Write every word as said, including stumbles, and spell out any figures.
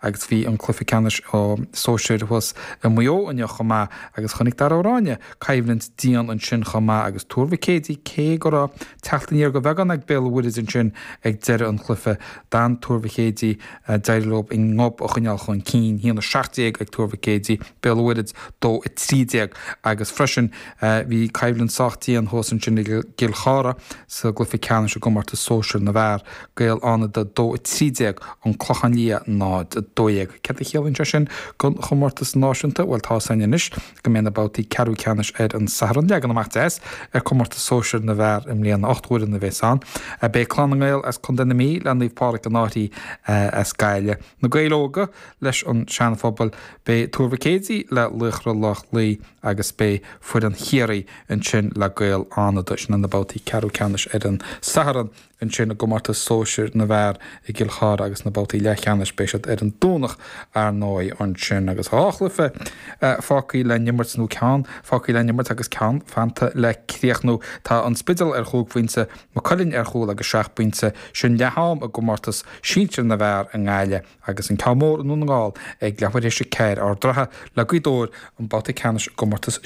Agus bhí an cluiche ceannais sóisir thuas i Maigh Eo inniu chomh maith agus chonaic Dara Ó Ráinne coimhlint dian ansin chomh maith agus Tuar Mhic Éadaigh, cé go raibh teacht aniar de bheagán ag Béal an Mhuirthead ansin ag deireadh an chluiche, d'fhan Tuar Mhic Éadaigh, d'éirigh leo a ngob a choinneáil chun cinn, a haon a seacht déag ag Tuar Mhic Éadaigh, Béal an Mhuirthead dó a trí déag. Agus freisin bhí coimhlint sách dian thuas ansin i gCill Chartha sa gcluiche ceannais i gcomórtas sóisir na bhfear, Gaeil Fhánada dó a trí déag, An Clochán Liath náid a dó dhéag. Céard a chiallaíonn sé sin don chomórtas náisiúnta? Bhuel, tá 'fhios againn anois go mbeidh na babhtaí ceathrú ceannais ar an Satharn. Leagan amach deas ar chomórtas sóisir na bhfear i mbliana, ocht bhfoireann a bheas ann. Beidh Clann na nGael as Contae na Mí le Naomh Pádraig an Fhairche as Gaillimh, Na Gaeil Óga leis an Seana-Phobal, beidh Tuar Mhic Éadaigh le Laochra Loch Lao agus beidh foireann Chiarraí ansin le Gaeil Fhánada. Sin na babhtaí ceathrú ceannais ar an Satharn ansin i gcomórtas sóisir na bhfear i gCill Chartha agus na babhtaí leathcheannais beidh siad ar an Domhnach ar ndóigh ansin agus dhá chluiche fágtha le n-imirt nó ceann fágtha le n-imirt agus ceann fanta le críochnú. Tá an Spidéal ar chúig phointe, Maigh Cuilinn ar chúl agus seacht bpointe. Sin leath-am i gcomórtas sinsir na bhfear i nGaillimh agus an ceann mór i nDún na nGall ag leathuair théis a ceathair, Ard an Rátha le Gaoth Dobhair an babhta ceannais i gcomórtas